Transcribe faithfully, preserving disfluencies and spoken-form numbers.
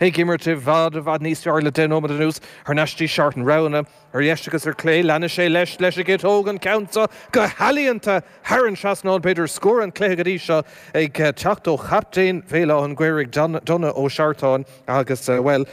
Ag imirt i bhfad i bhfad níos fearr le deich nóiméad anuas thar n-ais dtí Seartan roghanna ar dheis agus ar clé leanfaidh sé leis leis an gciotóg an ceann seo go healaíonta thar an trasnán b'fhéidir scór an chluiche go dtí seo ag teacht ó chaptaen Bhéal Átha an Ghaorthaidh Donagh Ó Seartáin agus bhuel